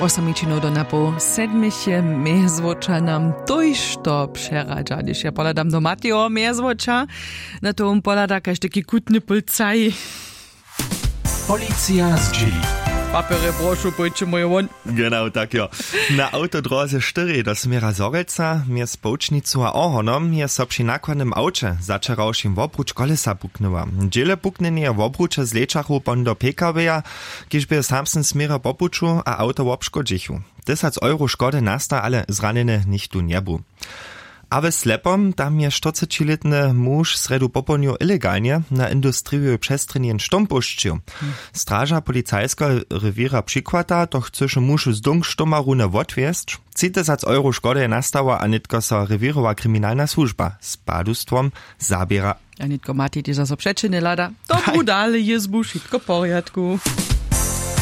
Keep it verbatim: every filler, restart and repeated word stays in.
Wosomičinow do napoł sedmich je mjezwoča nam tójšto přeradźa, hdyž ja pohladam do mateho mjezwoča, na to wón pohlada kaž taki kutny pulcaj. Policija zdźěli. Papjerje prošu pójće mój wón. Genau tak jo. Na awtodróze štyri do směra zhorjelca mjez połčnicu a ohornom je so při nakładnym awće začerawšim wobruč kolesa puknyła. Dźěle puknjenje wobruče zlečachu pon do pkw-ja, kiž bě w samsnym směrje po puću a awto wobškodźichu. Tysac euro škody nasta, ale zranjeny nichtó njebu. A w slepom tam je štyrcećilětny muž srjedu popołdnju ilegalnje na industrijowej přestrjenje štom pušćił. Straža policajskeho rewěra přikłata to chcyše muž z dong štomarunje wotwjesć. Tři tysac euro škody je nastała a nětko so rewěrowa kriminalna słužba z padustwom zaběra. A nětko matej tež zaso přećiny hlada. Dobru dale jězbu wšitko w porjadku.